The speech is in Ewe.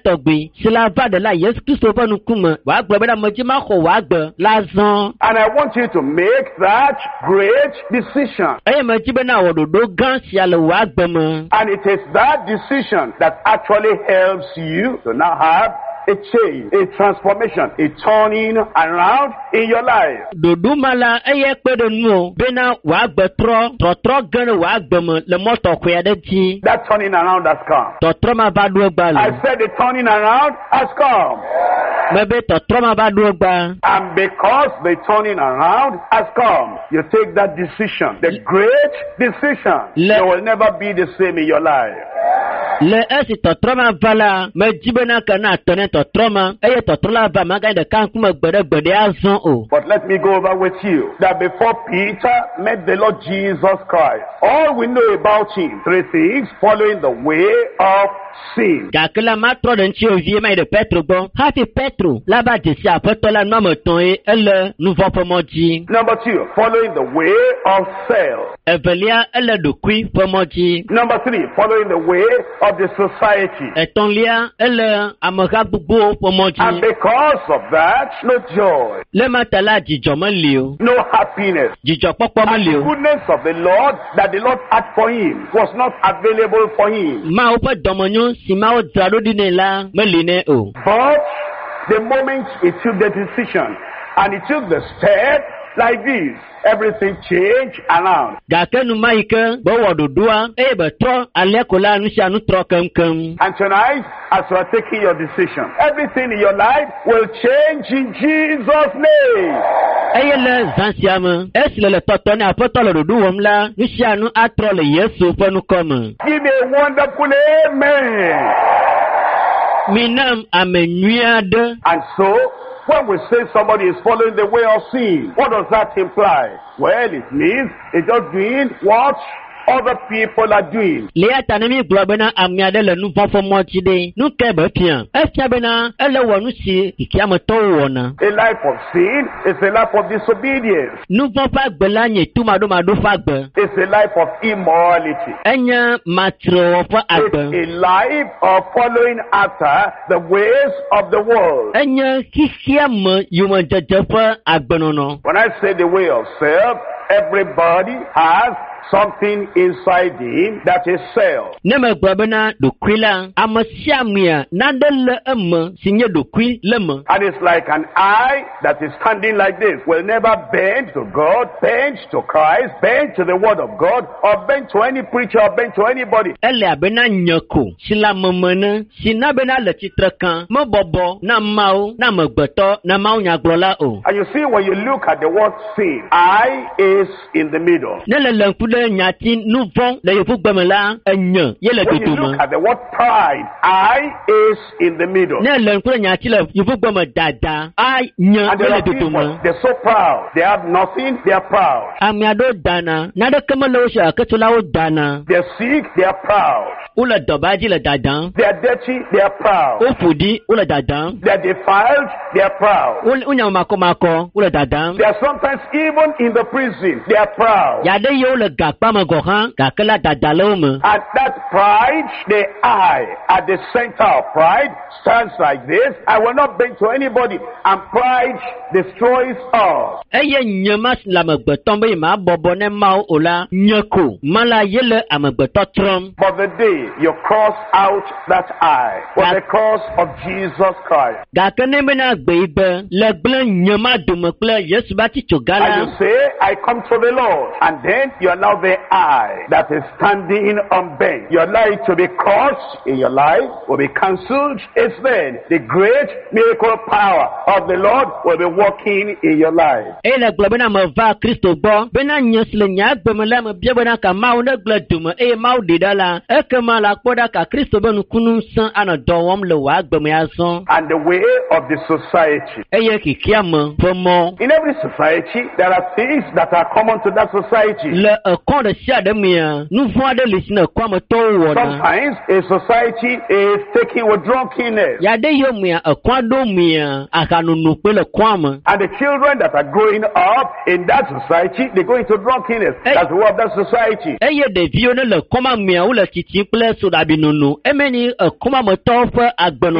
tɔgbi si la va ɖela Yesu Kristo ƒe ŋkume wòagblɔ bena medzi maxɔ wò agbe la zɔ. And I want you to make that great decision. Eye medzi bena wɔ ɖoɖo gã sia le wò agbe me. And it is that decision that actually helps you to now have a change, a transformation, a turning around in your life. Ɖoɖo ma la eye kpe ɖe nuwò bena wò agbe trɔ trɔtrɔ ge ɖe wò agbe me le mɔ tɔxɛ aɖe dzi. That turning around has come. Tɔtrɔ ma va ɖo egba I le. said the turning around has come. Mebe tɔtrɔ ma va ɖo egba. And because the turning around has come, you take that decision, the great decision. You will never be the same in your life. Le esi tɔtrɔ ma va la, medzi bena ke na atɔ ne tɔtrɔ ma eye tɔtrɔ la va maganye ɖeka ŋkume gbe ɖe gbe ɖe azɔ o. But let me go over with you that before Peter met the Lord Jesus Christ, all we know about him, three things: following the way of sin. Gake la matrɔ ɖe ŋuti vie ma yi ɖe Petro gbɔ. Hafi Petro la va dzesi aƒetɔ la nu ame etɔ̃ ye ele nu vɔ̃ ƒe mɔ dzi. Number two, following the way of self. Evelia, ele ɖokui ƒe mɔ dzi. Number three, following the way of the society. Etɔ̃lia, ele ameha gbogbowo ƒe mɔ And dzi. because of that, no joy, Le ma ta la dzidzɔ meli o. no happiness. Dzidzɔkpɔkpɔ And meli the o. goodness of the Lord that the Lord had for him was not available for him. Mawu ƒe dɔmenyo si Mawu dzra ɖo ɖi nɛ la meli nɛ o. But the moment he took the decision and he took the step like this, everything changed around. Gake nu ma yi ke be wɔ ɖoɖoa eye be trɔ alea ko la nu sia nu trɔ keŋkeŋ. And tonight, as you are taking your decision, everything in your life will change in Jesus' name. Eye le zã sia me, esi le le tɔtɔ ne aƒetɔ le ɖoɖo wɔm la, nu sia nu atrɔ le Yesu ƒe ŋkɔ me. Give me a wonderful amen. Minam ame nyui aɖe. And so, when we say somebody is following the way of sin, what does that imply? Well, it means it's just doing what other people are doing. Le ya ta ne mi gblɔ bena ame aɖe le nu vɔ̃ ƒe mɔ dzi ɖe, nu kae be fia? Efia bena ele wɔ nu si xexeametɔwo wɔna. A life of sin is a life of disobedience. Nu vɔ̃ ƒe agbe la nye tomaɖomaɖo ƒe agbe. It's a life of immorality. Enye matrewɔ ƒe It's agbe. a life of following after the ways of the world. Enye xexeame yomedzedze ƒe agbenɔnɔ. When I say the way of self, everybody has something inside him that is self. Ne megblɔ bena ɖokui la, ame sia amea nane le eme si nye ɖokui le me. And it's like an eye that is standing like this, will never bend to God, bend to Christ, bend to the Word of God, or bend to any preacher, or bend to anybody. Ele abe na nye ko si le ame me ne si na bena le tsitre kan mebɔbɔ na Mawu na amegbetɔ na Mawu nyagblɔla o. And you see, when you look at the word sin, I is in the middle. Ne le le ŋku ɖe nyati nu vɔ̃ le yevugbe me la, enye ye le When you dodome. look at the word pride, I is in the middle. Ne le ŋku ɖe nyati le yevugbe me dada, a nye And ye there le are people, dodome. they're so proud. They have nothing, they are proud. Ame aɖewo dana, naneke mele wo si o gake tso la wo dana. They're sick, they are proud. Wole dɔba dzi le dadam. They are dirty, they are proud. Woƒo ɖi, wole dadam. They are defiled, they are proud. Wole wonye ame makɔmakɔ, wole dadam. They are sometimes even in the prison, they are proud. Yaɖe yiwo le gakpa me gɔ̃ hã, gake la dada le wo me. And that pride, the I at the center of pride stands like this. I will not bend to anybody. And pride destroys us. Eye nye ma si le amegbetɔ be ma bɔbɔ ne Mawu o la, nye ko ma la ye le amegbetɔ trɔm. But the day you cross out that I with the cross of Jesus Christ, Gake ne bena gbe yi be le gblẽ nye ma dome kple Yesu be atitsoga and la, you say, I come to the Lord, and then you allow the I that is standing unbent, your life to be crushed in your life will be cancelled. It's then the great miracle power of the Lord will be working in your life. Eye le gblɔ bena meva Kristo gbɔ bena nye si le nye agbe me la mebia bena ka Mawu ne gblẽ dome eye Mawu ɖi ɖa la, ekema la kpɔ ɖa ka Kristo be nukunu ŋusẽ anɔ dɔ wɔm le wò agbe me azɔ. And the way of the society. Eye xexeame ƒe mɔ. In every society, there are things that are common to that society. Le ekɔ ɖe sia ɖe mea, nu vɔ̃ aɖe li si ne ekɔa me tɔwo wɔna. Sometimes a society is taken with drunkenness. Ya ɖe yiwo mea, ekɔa ɖo mea, ahanono kpe le kɔa me. And the children that are growing up in that society, they go into drunkenness. Hey. That's the way of that society. Eye ɖeviwo ne le kɔma mea, wole tsitsim kple soɖabinono. Eme ni ekɔma me tɔwo ƒe agbenɔnɔ.